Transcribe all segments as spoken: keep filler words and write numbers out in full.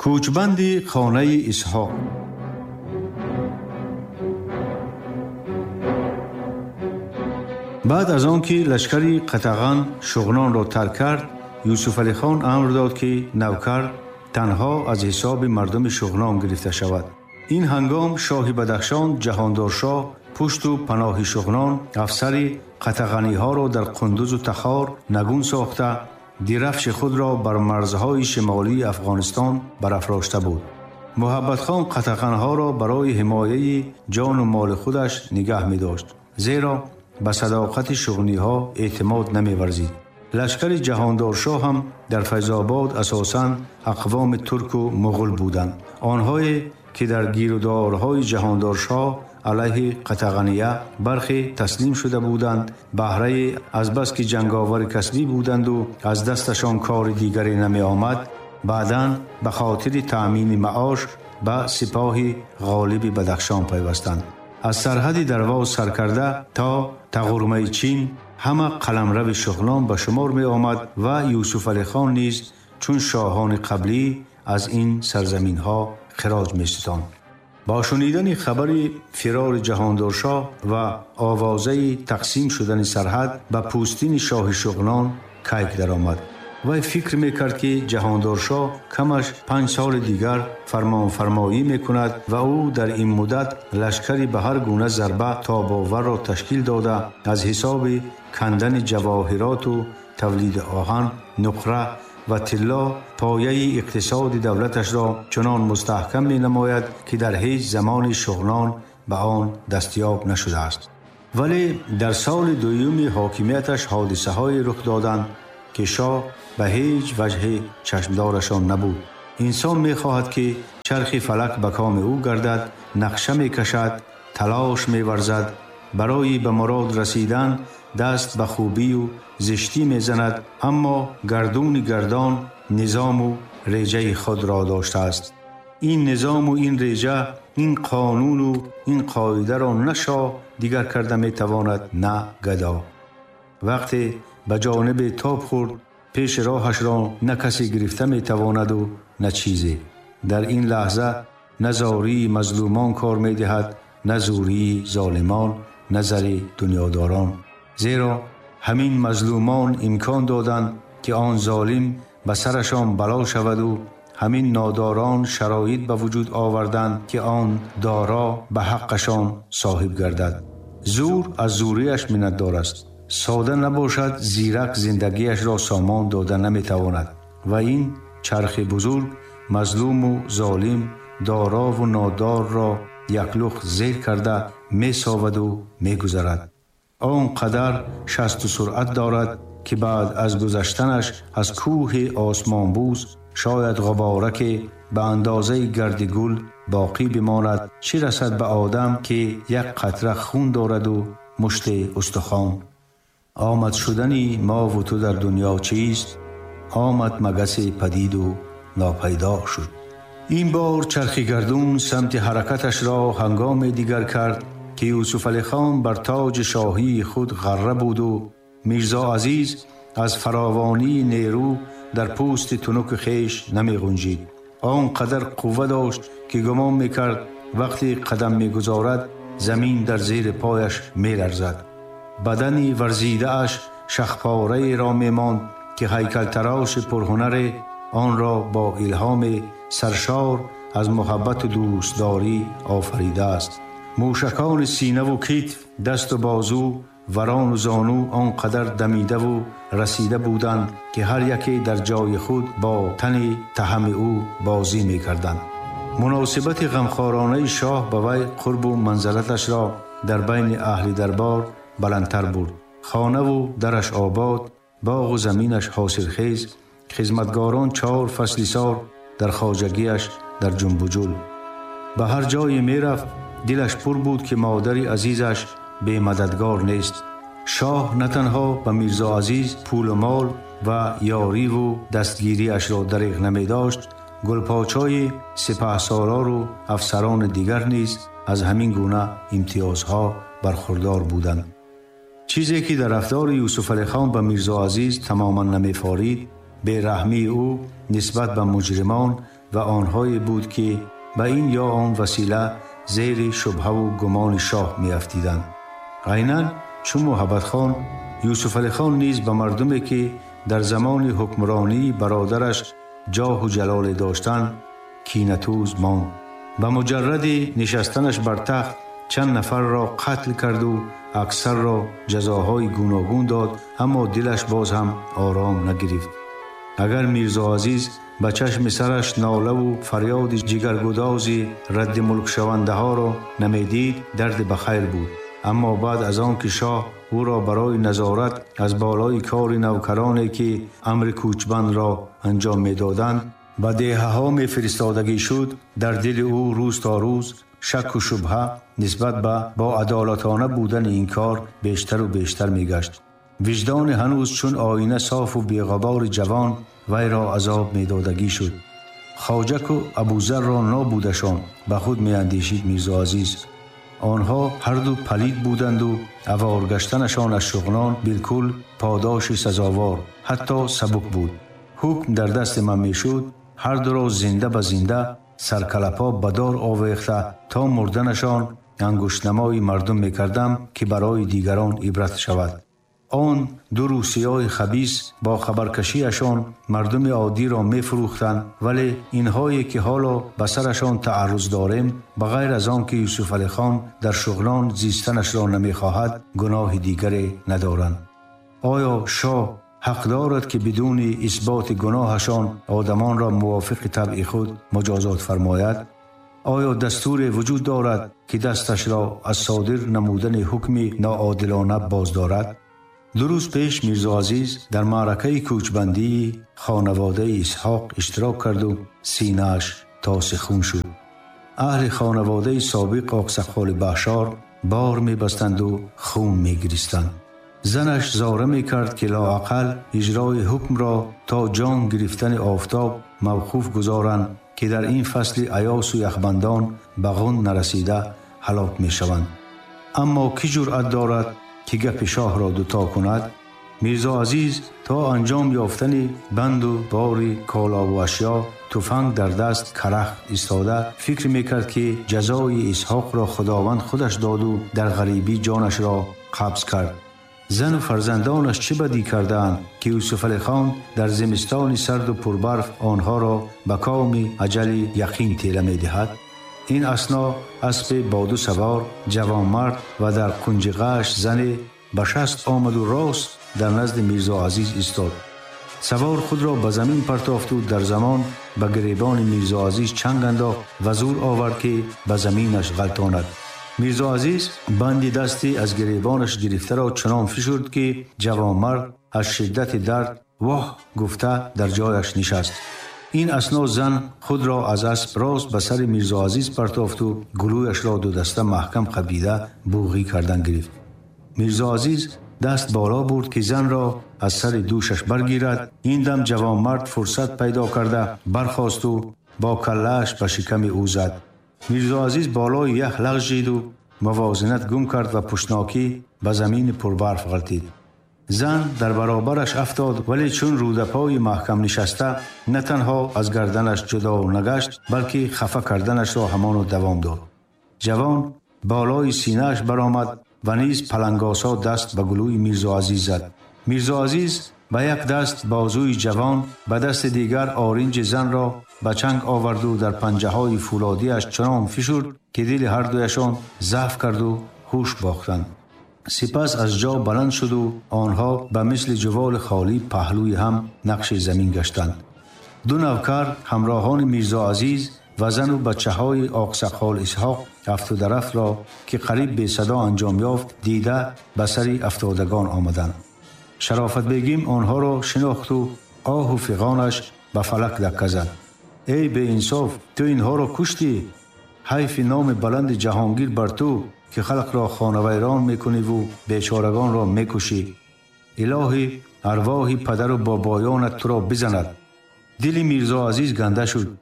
Кӯчбанди хонаи Исҳоқ. Баъд аз он ки лашкари Қатаған Шуғнонро тарк кард, Юсуфалихон амр дод, ки навкар танҳо аз ҳисоби мардуми Шуғнон гирифта шавад. Ин ҳангом шоҳи Бадахшон Ҷаҳондоршоҳ пушту паноҳи Шуғнон афсари қатағаниҳоро дар Қундузу Тахор нагун сохта, дирафши худро бар марзҳои шимолии Афғонистон барафрошта буд. Муҳаббатхон қатағанҳоро барои ҳимояи ҷону моли худаш нигаҳ медошт, зеро ба садоқати шуғниҳо эътимод намеварзид. Лашкари Ҷаҳондоршоҳ ҳам дар Файзобод асосан ақвоми турку муғул буданд. Онҳое ки дар гирудорҳои Ҷаҳондоршоҳ алайҳи Қатағания бархе таслим шуда буданд, баҳраи азбаски ҷанговари касбӣ буданду аз дасташон кори дигаре намеомад, баъдан ба хотири таъмини маош ба сипоҳи ғолиби Бадахшон пайвастанд. Аз сарҳади Дарвоз саркарда то Тағурмаи Чин ҳама қаламрави Шуғнон ба шумор меомад ва Юсуфалихон низ чун шоҳони қаблӣ аз ин сарзаминҳо хироҷ меситонд. Бо шунидани хабари фирори Ҷаҳондоршоҳ ва овозаи тақсим шудани сарҳад ба пӯстини шоҳи Шуғнон кайк даромад. Вай фикр мекард, ки Ҷаҳондоршоҳ камаш панҷ соли дигар фармонфармоӣ мекунад ва ӯ дар ин муддат лашкари ба ҳар гуна зарба тобоварро ташкил дода, аз ҳисоби кандани ҷавоҳироту тавлиди оҳан, нуқра ва тилло пояи иқтисоди давлаташро чунон мустаҳкам менамояд, ки дар ҳеҷ замони Шуғнон ба он дастёб нашудааст. Вале дар соли дуюми ҳокимияташ ҳодисаҳое рух доданд, ки шоҳ ба ҳеҷ ваҷҳе чашмдорашон набуд. Инсон мехоҳад, ки чархи фалак ба коми ӯ гардад, нақша мекашад, талош меварзад, барои ба мурод расидан даст ба хубию зиштӣ мезанад, аммо гардуни гардон низому реҷаи худро доштааст. Ин низому ин реҷа, ин қонуну ин қоидаро на шоҳ дигар карда метавонад, на гадо. Вақте ба ҷониби тоб хӯрд, пеши роҳашро на касе гирифта метавонаду на чизе. Дар ин лаҳза на зории мазлумон кор медиҳад, на зӯрии золимон, на зари дунёдорон. Зеро ҳамин мазлумон имкон доданд, ки он золим ба сарашон бало шаваду ҳамин нодорон шароит ба вуҷуд оварданд, ки он доро ба ҳаққашон соҳиб гардад. Зӯр аз зӯрияш миннатдор аст. Сода набошад, зирак зиндагиашро сомон дода наметавонад ва ин чархи бузург мазлуму золим, дорову нодорро яклух зер карда месоваду мегузарад. Он қадар шасту суръат дорад, ки баъд аз гузаштанаш аз кӯҳи осмонбӯз шояд ғубораке ба андозаи гарди гул боқӣ бимонад, чӣ расад ба одам, ки як қатра хун дораду мушти устухон. Омад шудани мову ту дар дунё чист? Омад магаси падиду нопайдо шуд. Ин бор чархи гардун самти ҳаракаташро ҳангоме дигар кард, ки Юсуфалихон бар тоҷи шоҳии худ ғарра буду Мирзо Азиз аз фаровонии нерӯ дар пӯсти тунуки хеш намеғунҷид. Он қадар қувва дошт, ки гумон мекард вақте қадам мегузорад, замин дар зери пояш меларзад. Бадани варзидааш шахпораеро мемонд, ки ҳайкалтароши пурҳунаре онро бо илҳоми саршор аз муҳаббату дӯстдорӣ офаридааст. Мӯшакони синаву китф, дасту бозу, варону зону он қадар дамидаву расида буданд, ки ҳар яке дар ҷои худ бо тани таҳами ӯ бозӣ мекарданд. Муносибати ғамхоронаи шоҳ ба вай қурбу манзалаташро дар байни аҳли дарбор баландтар бурд. Хонаву дараш обод, боғу заминаш ҳосилхез, хизматгорон чор фасли сол дар хоҷагиаш дар ҷунбуҷул. Ба ҳар ҷое мерафт, дилаш пур буд, ки модари азизаш бемададгор нест. Шоҳ на танҳо ба Мирзо Азиз пулу мол ва ёриву дастгириашро дариғ намедошт, гулпочои сипаҳсолору афсарони дигар низ аз ҳамин гуна имтиёзҳо бархурдор буданд. Чизе ки дар рафтори Юсуфалихон ба Мирзо Азиз тамоман намефорид, бераҳмии ӯ нисбат ба муҷримон, و آنهایی بود که به این یا آن وسیله زیر شبهه و گمان شاه می‌افتیدند. عیناً چون محبت خان، یوسف علی خان نیز به مردمی که در زمان حکمرانی برادرش جاه و جلال داشتند کینه‌توز ماند. به مجرد نشستنش بر تخت چند نفر را قتل کرد و اکثر را جزاهای گوناگون داد، اما دلش باز هم آرام نگرفت. اگر میرزا عزیز به چشم سرش ناله و فریاد جگرگدازی رد ملک شونده ها را نمیدید درد بخیر بود. اما بعد از آن که شاه او را برای نظارت از بالای کار نوکرانی که امر کوچبند را انجام میدادند به دهه ها می فرستادگی شد، در دل او روز تا روز شک و شبهه نسبت به با عدالتانه بودن این کار بیشتر و بیشتر می گشت. وجدان هنوز چون آینه صاف و بی‌غبار جوان وی را عذاب می دادگی شد. خواجک و ابوذر را نابودشان به خود می اندیشید میرزا عزیز. آنها هر دو پلید بودند و اوار گشتنشان از شغنان بالکل پاداش سزاوار حتی سبک بود. حکم در دست من می شد هر دو را زنده به زنده سرکلپا به دار آویخته تا مردنشان انگشت‌نمای مردم می کردم که برای دیگران عبرت شود. آن دو روسیای خبیث با خبرکشیشان مردم عادی را می فروختند، ولی اینهایی که حالا به سرشان تعرض داریم به غیر از آن که یوسف علی خان در شغلان زیستنش را نمی خواهد گناه دیگری ندارند. آیا شاه حق دارد که بدون اثبات گناهشان آدمان را موافق طبع خود مجازات فرماید؟ آیا دستور وجود دارد که دستش را از صادر نمودن حکم ناعادلانه باز دارد؟ دو روز پیش میرزا عزیز در معرکه کوچبندی خانواده اسحاق اشتراک کرد و سینه‌اش تاس خون شد. اهل خانواده سابق آقسقال بحشار بار می بستند و خون می گریستند. زنش زاره می کرد که لااقل اجرای حکم را تا جان گرفتن آفتاب موقوف گذارند که در این فصل ایاس و یخبندان به غن نرسیده هلاک می شوند. اما کی جرأت دارد که گپ شاه را دوتا کند؟ میرزا عزیز تا انجام یافتن بند و بار کالا و اشیا تفنگ در دست کرخ ایستاده فکر میکرد که جزای اسحاق را خداوند خودش داد و در غریبی جانش را قبض کرد. زن و فرزندانش چه بدی کردند که یوسف علی خان در زمستان سرد و پربرف آنها را به کام اجل یقین تیله میدهد؟ این اثنا اسب با دو سوار جوانمرد و در کنج قش زن به شست آمد و راست در نزد میرزا عزیز ایستاد. سوار خود را به زمین پرتافت و در زمان به گریبان میرزا عزیز چنگ انداخت و زور آورد که به زمینش غلطاند. میرزا عزیز بند دستی از گریبانش گرفته را چنان فشرد که جوانمرد از شدت درد واه گفته در جایش نشست. این اثنا زن خود را از اسب راست به سر میرزا عزیز پرتافت و گلویش را دو دسته محکم قبیده بوغی کردن گرفت. میرزا عزیز دست بالا برد که زن را از سر دوشش برگیرد. این دم جوانمرد فرصت پیدا کرده برخاست و با کله‌اش به شکم او زد. میرزا عزیز بالای یخ لغزید و موازنت گم کرد و پشناکی به زمین پربرف غلتید. زن در برابرش افتاد، ولی چون رودپای محکم نشسته نه تنها از گردنش جدا نگشت بلکه خفه کردنش را همانو دوام داد. جوان بالای سینه‌اش برآمد و نیز پلنگاسا دست به گلوی میرزا عزیز زد. میرزا عزیز به یک دست بازوی جوان، به دست دیگر آرنج زن را به چنگ آورد و در پنجه های فولادیش چنان فشرد که دل هر دویشان ضعف کرد و هوش باختند. سپس از جا بلند شد و آنها به مثل جوال خالی پهلوی هم نقش زمین گشتند. دو نوکر همراهان میرزا عزیز و زن و بچه های آقسقال اسحاق افتاده رفت را که قریب به صدا انجام یافت دیده به سر افتادگان آمدند. شرافت بیگیم آنها را شناخت و آه و فغانش به فلک دکه زد. ای به انصاف، تو اینها را کشتی؟ حیف نام بلند جهانگیر بر تو که خلق را خانه ویران میکنی و بیچارگان را میکشی. الهی ارواح پدر و بابایانت تو را بزند. دل میرزا عزیز گنده شد.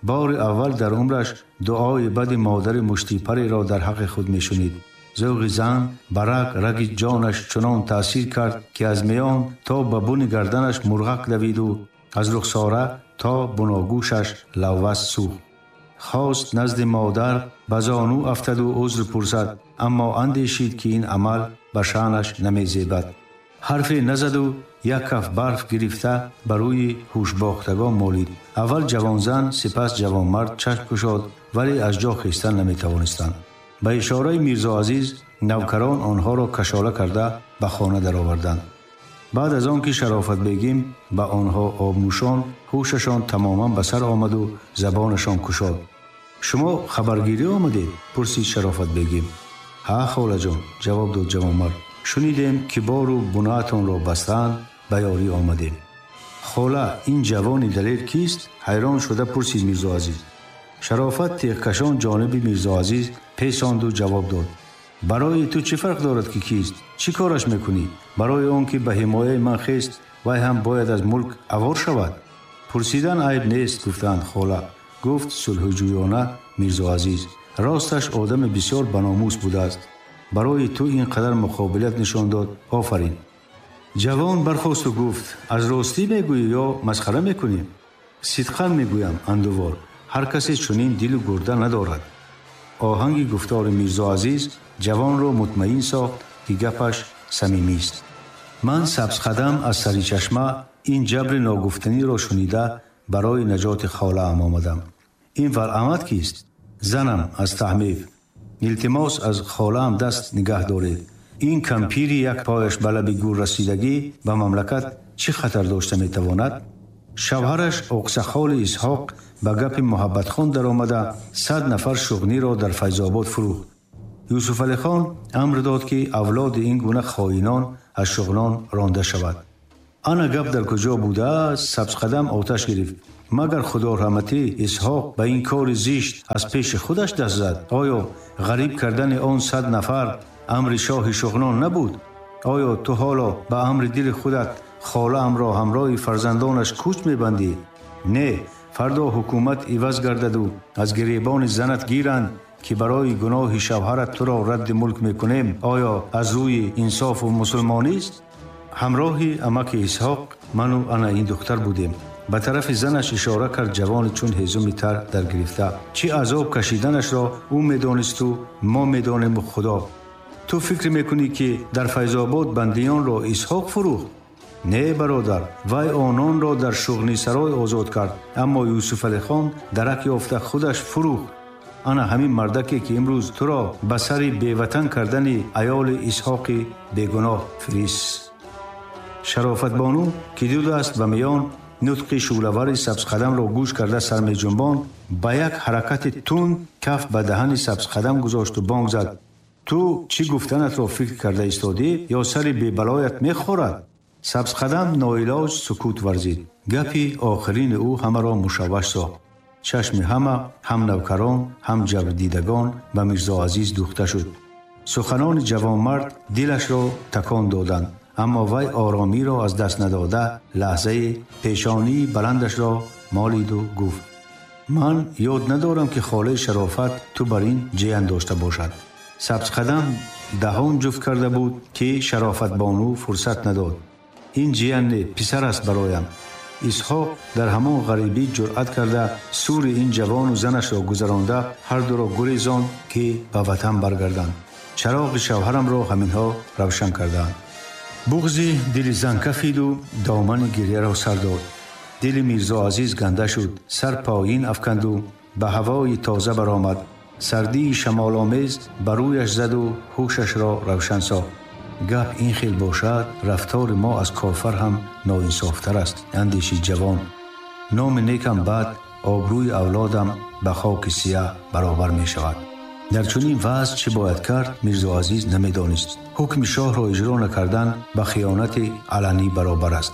بار اول در عمرش دعای بد مادر مشتیپری را در حق خود میشنید. ذوق زن برق رگ جانش چنان تأثیر کرد که از میان تا به بن گردنش مرغک دوید و از رخساره то буногӯшаш лаввас сӯхт. Хост назди модар ба зону афтаду узр пурсад, аммо андешид, ки ин амал ба шаънаш намезебад. Ҳарфе назаду як каф барф гирифта ба рӯи ҳушбохтагон молид. Аввал ҷавонзан, сипас ҷавонмард чашм кушод, вале аз ҷо хестан наметавонистанд. Ба ишораи Мирзо Азиз навкарон онҳоро кашола карда ба хона дароварданд. Баъд аз он ки Шарофат бегим ба онҳо об нӯшон, ҳушашон тамоман ба сар омаду забонашон кушод. Шумо хабаргирӣ омадед? Пурсид Шарофат бегим. Ҳа, холаҷон, ҷавоб дод ҷавонмард. Шунидем, ки бору бунаатонро бастаанд, ба ёрӣ омадем. Хола, ин ҷавони далер кист? Ҳайрон шуда пурсид Мирзо Азиз. Шарофат теғкашон ҷониби Мирзо Азиз песонду ҷавоб дод. Барои ту чӣ фарқ дорад, ки кист? Чӣ кораш мекунӣ? Барои он ки ба ҳимояи ман хест, вай ҳам бояд аз мулк авор шавад? Пурсидан айб нест, гуфтанд хола, гуфт сулҳҷӯёна Мирзо Азиз. Росташ одами бисёр баномус будааст. Барои ту ин қадар муқобилат нишон дод, офарин. Ҷавон бархосту гуфт: аз ростӣ мегӯӣ ё масхара мекунӣ? Сидқан мегӯям, андувор, ҳар касе чунин дилу гурда надорад. Оҳанги гуфтори Мирзо Азиз ҷавонро мутмаин сохт, ки гапаш самимист. Ман сабзқадам аз сари чашма ин ҷабри ногуфтаниро шунида барои наҷоти холаам омадам. Ин валамат кист? Занам аз таҳмив. Илтимос, аз холаам даст нигаҳ доред. Ин кампири як пояш ба лаби гур расидагӣ ба мамлакат чӣ хатар дошта метавонад? Шавҳараш Оқсақоли Исҳоқ ба гапи Муҳаббатхон даромада сад нафар шуғниро дар Файзобод фурӯхт. Юсуфалихон амр дод, ки авлоди ин гуна хоинон аз шуғнон ронда шавад. Ана гап дар куҷо будааст, сабзқадам оташ гирифт. Магар худораҳматӣ Исҳоқ ба ин кори зишт аз пеши худаш даст зад? Оё ғариб кардани он сад нафар амри шоҳи шуғнон набуд? Оё ту ҳоло ба амри дили худат холаамро ҳамроҳи фарзандонаш кӯч мебандӣ? Не, фардо ҳукумат иваз гардаду аз гиребони занат гиранд, ки барои гуноҳи шавҳарат туро радди мулк мекунем, оё аз рӯи инсофу мусулмонист? Ҳамроҳи амаки Исҳоқ ману ана ин духтар будем. Ба тарафи занаш ишора кард ҷавони чун ҳезуми тар даргирифта. Чӣ азоб кашиданашро ӯ медонисту мо медонему Худо. Ту фикр мекунӣ, ки дар Файзобод бандиёнро Исҳоқ фурӯхт? Не, бародар, вай ононро дар шуғнисарой озод кард, аммо Юсуфалихон дарак ёфта худаш фурӯхт. Ана ҳамин мардаке, ки имрӯз туро ба сари беватан кардани аёли Исҳоқи бегуноҳ фирист. Шарофатбону, ки ду даст ба миён нутқи шӯълавари сабзқадамро гӯш карда сар меҷунбон, ба як ҳаракати тунд каф ба даҳани сабзқадам гузошту бонг зад. Ту чӣ гуфтанатро фикр карда истодӣ ё сари бебалоят мехӯрад? Сабзқадам ноилоҷ сукут варзид. Гапи охирини ӯ ҳамаро мушавваш сохт. Чашми ҳама, ҳам навкарон, ҳам ҷабрдидагон ба Мирзо Азиз дӯхта шуд. Суханони ҷавонмард дилашро такон доданд, аммо вай оромиро аз даст надода лаҳзаи пешонии баландашро молиду гуфт: ман ёд надорам, ки холаи Шарофат ту бар ин ҷиян дошта бошад. Сабзқадам даҳон ҷуфт карда буд, ки Шарофатбону фурсат надод. Ин ҷиян не, писар аст бароям. Исҳоқ дар ҳамон ғарибӣ ҷуръат карда сури ин ҷавону занашро гузаронда ҳар дуро гурезонд, ки ба ватан баргарданд. Чароғи шавҳарамро ҳаминҳо равшан кардаанд. Буғзи дили зан кафиду домани гирьяро сар дод. Дили Мирзо Азиз ганда шуд, сар поин афканду ба ҳавои тоза баромад. Сардии шамоломез ба рӯяш заду ҳушашро равшан сохт. Гап ин хел бошад, рафтори мо аз кофар ҳам ноинсофтар аст, андешид ҷавон. Номи некам бад, обрӯи авлодам ба хоки сияҳ баробар мешавад. Дар чунин вазъ чӣ бояд кард, Мирзо Азиз намедонист. Ҳукми шоҳро иҷро накардан ба хиёнати аланӣ баробар аст.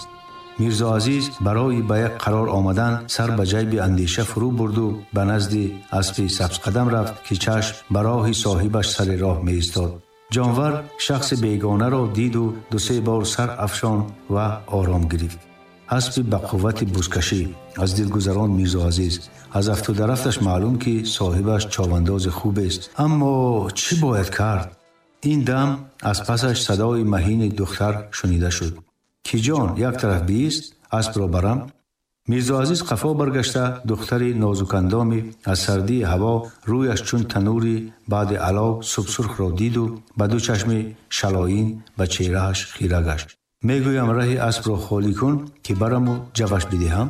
Мирзо Азиз барои ба як қарор омадан сар ба ҷайби андеша фурӯ бурду ба назди аспи сабзқадам рафт, ки чашм ба роҳи соҳибаш сари роҳ меистод. Ҷонвар шахси бегонаро диду ду-се бор сар афшон ва ором гирифт. Аспи ба қуввати бузкашӣ аз дил гузаронд Мирзо Азиз. Аз афтударафташ маълум, ки соҳибаш човандози хубест. Аммо чӣ бояд кард? Ин дам аз пасаш садои маҳини духтар шунида шуд. Ки ҷон, як тараф биист, аспро барам. Мирзо Азиз қафо баргашта, духтари нозукандоми аз сардии ҳаво рӯяш чун танури баъди алов субсурхро диду ба ду чашми шалоин ба чеҳрааш хира гашт. Мегӯям, раҳи аспро холӣ кун, ки бараму ҷаваш бидиҳам.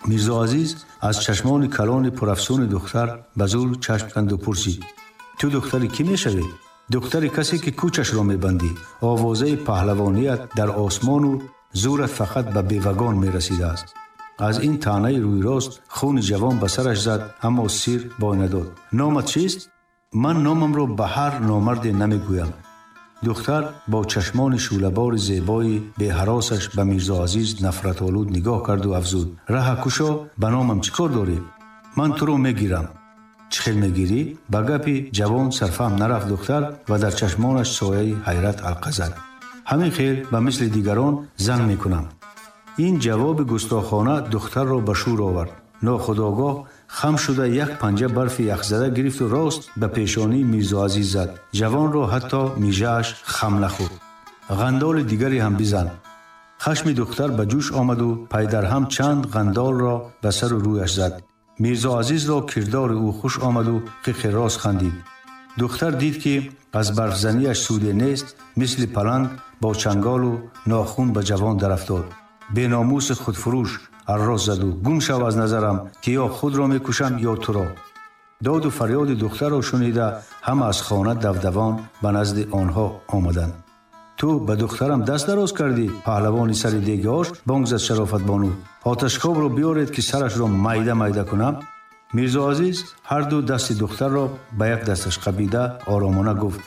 Мирзо Азиз аз чашмони калони пурафсуни духтар ба зур чашм канду пурсид: ту духтари кӣ мешавӣ? Духтари касе, ки кӯчашро мебандӣ, овозаи паҳлавоният дар осмону зурат фақат ба бевагон мерасидааст. Аз ин таънаи рӯйрост хуни ҷавон ба сараш зад, аммо сир бой надод. Номат чист? Ман номамро ба ҳар номарде намегӯям. Духтар бо чашмони шӯълабори зебои беҳаросаш ба Мирзо Азиз нафратолуд нигоҳ карду афзуд: раҳа кушо, ба номам чӣ кор дорӣ? Ман туро мегирам. Чӣ хел мегирӣ? Ба гапи ҷавон сарфаҳм нарафт духтар ва дар чашмонаш сояи ҳайрат алқа зад. Ҳамин хел ба мисли дигарон зан мекунам. Ин ҷавоби густохона духтарро ба шӯр овард. Нохудогоҳ хам шуда, як панҷа барфи яхзада гирифту рост ба пешонии Мирзо Азиз зад. Ҷавонро ҳатто мижааш хам нахӯрд. Ғандоли дигаре ҳам бизан. Хашми духтар ба ҷӯш омаду пайдарҳам чанд ғандолро ба сару рӯяш зад. Мирзо Азизро кирдори ӯ хуш омаду қиқи рост хандид. Духтар дид, ки аз барфзанияш суде нест, мисли паланг бо чанголу нохун ба ҷавон дарафтод. Беномуси худфурӯш, арроз заду, гум шав аз назарам, ки ё худро мекушам, ё туро. Доду фарёди духтарро шунида, ҳама аз хона давдавон ба назди онҳо омаданд. Ту ба духтарам даст дароз кардӣ, паҳлавони сари деги ош, бонг зад Шарофатбону. Оташкобро биёред, ки сарашро майда майда кунам. Мирзо Азиз ҳарду дасти духтарро ба як дасташ қабида, оромона гуфт: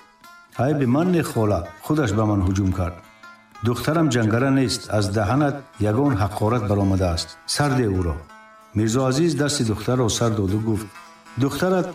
айби ман не, хола, худаш ба ман ҳуҷум кард. Духтарам ҷангара нест, аз даҳанат ягон ҳақорат баромадааст, сарде ӯро. Мирзо Азиз дасти духтарро сар доду гуфт: духтарат